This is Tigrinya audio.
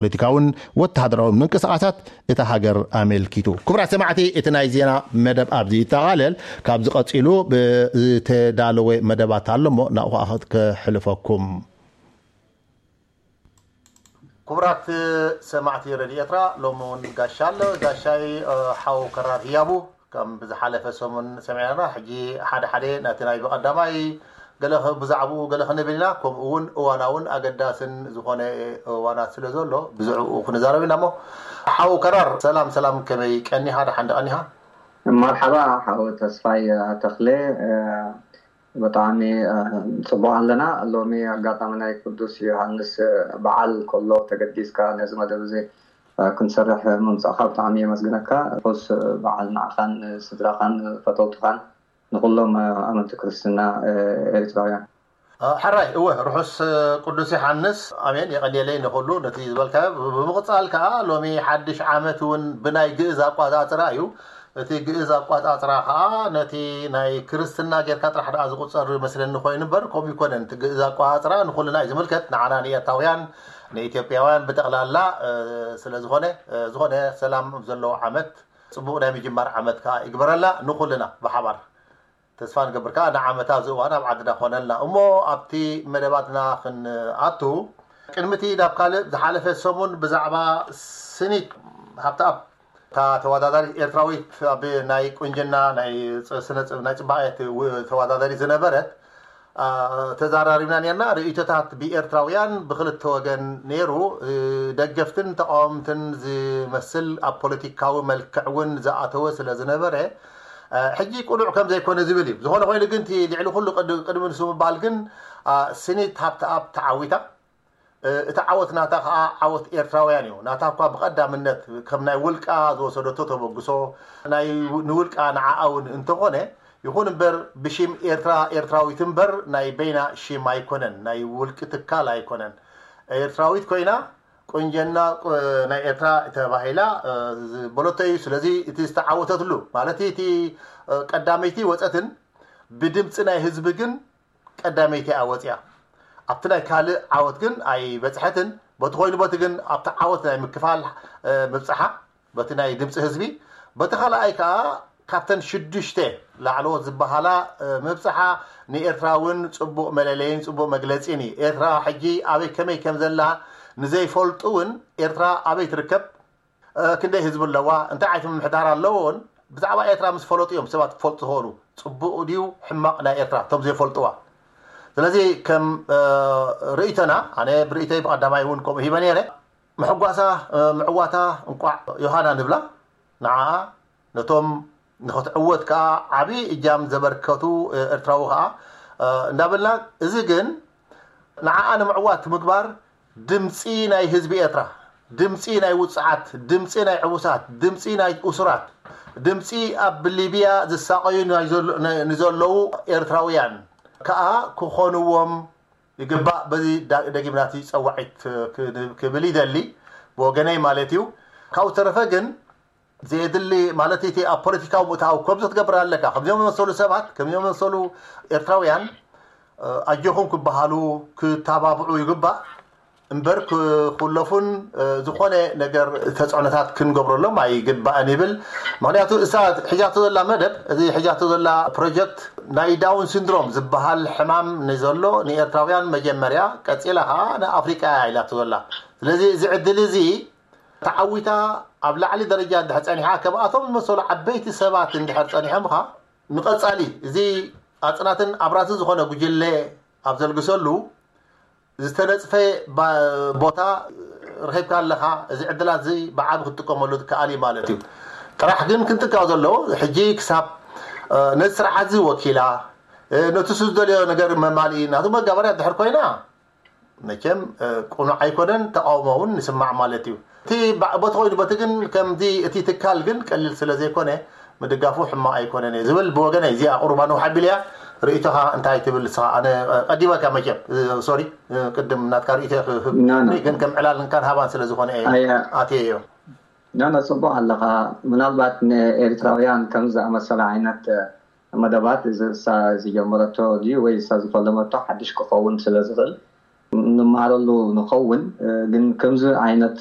ፖለቲካውን ወተሃደራዊ ምንቅስቃሳት እታ ሃገር ኣመልኪቱ። ክቡራት ሰማዕቲ፣ እቲ ናይ ዜና መደብ ኣብዚ ይጠቓለል። ካብዚ ቀጺሉ ዝተዳለወ መደባት ኣሎ እሞ ናብኡ ከኣ ከሕልፈኩም። ክቡራት ሰማዕቲ ረድዮ ኤርትራ፣ ሎሚ እውን ጋሻ ኣሎ። ጋሻይ ሓው ከራር ህያቡ ከም ብዝሓለፈ ሰሙን ሰሚዕና፣ ሕጂ ሓደ ሓደ ነቲ ናይ ብቐዳማይ ገለ ብዛዕባኡ ገለ ክንብል ኢና። ከምኡ እውን እዋናውን ኣገዳስን ዝኾነ እዋናት ስለ ዘሎ ብዝዕኡ ክንዛረብ ኢና። እሞ ሓው ከራር፣ ሰላም ሰላም፣ ከመይ ቀኒኻ? ደሓን ዶ ቀኒኻ? መርሓባ ሓው ተስፋይ ተኽለ። ብጣዕሚ ጽቡቕ ኣለና። ሎሚ ኣጋጣሚ ናይ ቅዱስ ዮሃንስ በዓል ከሎ ተገዲስካ ነዚ መደብ እዚ ክንሰርሕ ምምጻእካ ብጣዕሚ የመስግነካ። ርሑስ በዓል ንዓኻን ስድራኻን ፈተውትኻን ንኩሎም ኣመንቲ ክርስትና ኤርትራውያን። ሕራይ እወ፣ ርሑስ ቅዱስ ዮሃንስ። ኣሜን። የቐንየለይ ንኹሉ ነቲ ዝበልካዮ። ብምቕጻል ከኣ ሎሚ ሓድሽ ዓመት እውን ብናይ ግእዝ ኣቋጻጽራ እዩ። እቲ ግእዝ ኣቋጻጽራ ከኣ ነቲ ናይ ክርስትና ጌርካ ጥራሕ ደኣ ዝቑጸር ይመስለኒ ኮይኑ እምበር ከምኡ ይኮነን። እቲ ግእዝ ኣቋጻጽራ ንኹልና እዩ ዝምልከት፣ ንዓና ንኤርትራውያን ንኢትዮጵያውያን ብጠቕላላ ስለ ዝኾነ ዝኾነ ሰላም ዘለዎ ዓመት፣ ጽቡቕ ናይ ምጅማር ዓመት ከኣ ይግበረልና ንኹልና ብሓባር። ተስፋ ንገብር ከኣ ንዓመታ ኣብዚ እዋን ኣብ ዓድና ኮነልና እሞ ኣብቲ መደባትና ክንኣቱ ቅድሚቲ ናብ ካልእ ዝሓለፈ ሰሙን ብዛዕባ ስኒት ሃብተኣብ እታ ተወዳዳሪት ኤርትራዊት ኣብ ናይ ቁንጅና ናይ ስነ ናይ ጽባቐ ተወዳዳሪት ዝነበረት ተዛራሪብና ነርና። ርእይቶታት ብኤርትራውያን ብክልተ ወገን ነይሩ። ደገፍትን ተቃወምትን ዝመስል ኣብ ፖለቲካዊ መልክዕ እውን ዝኣተወ ስለ ዝነበረ ሕጂ ቅኑዕ ከም ዘይኮነ ዝብል እዩ። ዝኾነ ኮይኑ ግን እቲ ልዕሊ ኩሉ ቅድሚ ንሱ ምባል ግን ስኒት ሃብተኣብ ተዓዊታ። እቲ ዓወት ናታ ከዓ ዓወት ኤርትራውያን እዩ። ናታ እኳ ብቐዳምነት ከም ናይ ውልቃ ዝወሰደቶ ተበግሶ ናይ ንውልቃ ንዓኣ እውን እንተኾነ ይኹን እምበር ብሽም ኤርትራ ኤርትራዊት እምበር ናይ በይና ሽም ኣይኮነን፣ ናይ ውልቂ ትካል ኣይኮነን። ኤርትራዊት ኮይና ቁንጀና ናይ ኤርትራ ተባሂላ ዝበለቶ እዩ። ስለዚ እቲ ዝተዓወተትሉ ማለት እቲ ቀዳመይቲ ወፀትን ብድምፂ ናይ ህዝቢ ግን ቀዳመይቲ እያ ወፂኣ። ኣብቲ ናይ ካልእ ዓወት ግን ኣይበፅሐትን። በቲ ኮይኑ በቲ ግን ኣብቲ ዓወት ናይ ምክፋል ምብፅሓ በቲ ናይ ድምፂ ህዝቢ፣ በቲ ካልኣይ ከዓ ካብተን ሽዱሽተ ላዕለዎት ዝበሃላ ምብፅሓ ንኤርትራ እውን ፅቡቕ መለለይን ፅቡቕ መግለፂን እዩ። ኤርትራ ሕጂ ኣበይ ከመይ ከም ዘላ ንዘይፈልጡ እውን ኤርትራ ኣበይ ትርከብ፣ ክንደይ ህዝቢ ኣለዋ፣ እንታይ ዓይነት ምምሕዳር ኣለዎ እውን ብዛዕባ ኤርትራ ምስ ፈለጡ እዮም ሰባት ክፈልጡ ዝኽእሉ ፅቡቕ ድዩ ሕማቕ ናይ ኤርትራ እቶም ዘይፈልጥዋ። ስለዚ ከም ርእይቶና፣ ኣነ ብርእይቶይ ብቐዳማይ እውን ከምኡ ሂበ ነይረ፣ ምሕጓሳ ምዕዋታ እንቋዕ ዮሃና ንብላ ንዓኣ፣ ነቶም ንኽትዕወት ከዓ ዓብዪ እጃም ዘበርከቱ ኤርትራዊ ከዓ እንዳበልና፣ እዚ ግን ንዓኣ ንምዕዋት ምግባር ድምፂ ናይ ህዝቢ ኤርትራ፣ ድምፂ ናይ ውፅዓት፣ ድምፂ ናይ ዕቡሳት፣ ድምፂ ናይ እሱራት፣ ድምፂ ኣብ ሊብያ ዝሳቐዩ ንዘለዉ ኤርትራውያን ከዓ ክኾንዎም ይግባእ። በዚ ደጊምናቲ ፀዋዒት ክብል ይደሊ ብወገነይ ማለት እዩ። ካብኡ ተረፈ ግን ዘየድሊ ማለት እቲ ኣብ ፖለቲካዊ ምእታው ከምዚ ክትገብር ኣለካ። ከምዚኦም መሰሉ ሰባት ከምዚኦም መሰሉ ኤርትራውያን ኣጆኹም ክበሃሉ ክተባብዑ ይግባእ እምበር ክኩለፉን ዝኾነ ነገር ተፅዕኖታት ክንገብረሎም ኣይግባእን ይብል። ምክንያቱ እሳ ሒዛቶ ዘላ መደብ፣ እዚ ሒዛቶ ዘላ ፕሮጀክት ናይ ዳውን ሲንድሮም ዝበሃል ሕማም ንዘሎ ንኤርትራውያን መጀመርያ፣ ቀፂላ ከዓ ንኣፍሪቃ እያ ኢላቶ ዘላ። ስለዚ እዚ ዕድል እዚ ተዓዊታ ኣብ ላዕሊ ደረጃ እንድሕር ፀኒሓ፣ ከምኣቶም ዝመሰሉ ዓበይቲ ሰባት እንድሕር ፀኒሖምኻ፣ ንቐፃሊ እዚ ኣፅናትን ኣብራትን ዝኾነ ጉጅለ ኣብ ዘልግሰሉ ዝተነፅፈ ቦታ ረኺብካ ኣለኻ። እዚ ዕድላት እዚ ብዓቢ ክትጥቀመሉ ትከኣል እዩ ማለት እዩ። ጥራሕ ግን ክንጥንቀቕ ዘለዎ ሕጂ ክሳብ ነዚ ስርዓት እዚ ወኪላ ነቲ ዝደልዮ ነገር መማልኢ ናቱ መጋበርያ ድሕር ኮይና መቸም ቅኑዕ ኣይኮነን፣ ተቃውሞ እውን ንስማዕ ማለት እዩ። እቲ በቲ ኮይኑ በቲ ግን ከምዚ እቲ ትካል ግን ቀሊል ስለ ዘይኮነ ምድጋፉ ሕማቕ ኣይኮነን እየ ዝብል ብወገነይ። እዚኣ ቁሩባ ነውሕ ኣቢለያ። ርእይቶኻ እንታይ ትብል ንስኻ? ኣነ ቀዲመካ መቸም፣ ሶሪ፣ ቅድም ናትካ ርእይቶ ክህብ ግን ከም ዕላል እንካን ሃባን ስለ ዝኾነ እየ ኣትየዮ። ናና ጽቡቕ ኣለኻ። ምናልባት ንኤርትራውያን ከም ዝኣመሰለ ዓይነት መደባት እዚ እሳ ዝጀመረቶ ድዩ ወይ እሳ ዝፈለመቶ ሓድሽ ክኸውን ስለ ዝኽእል ንመሃረሉ ንኸውን። ግን ከምዚ ዓይነት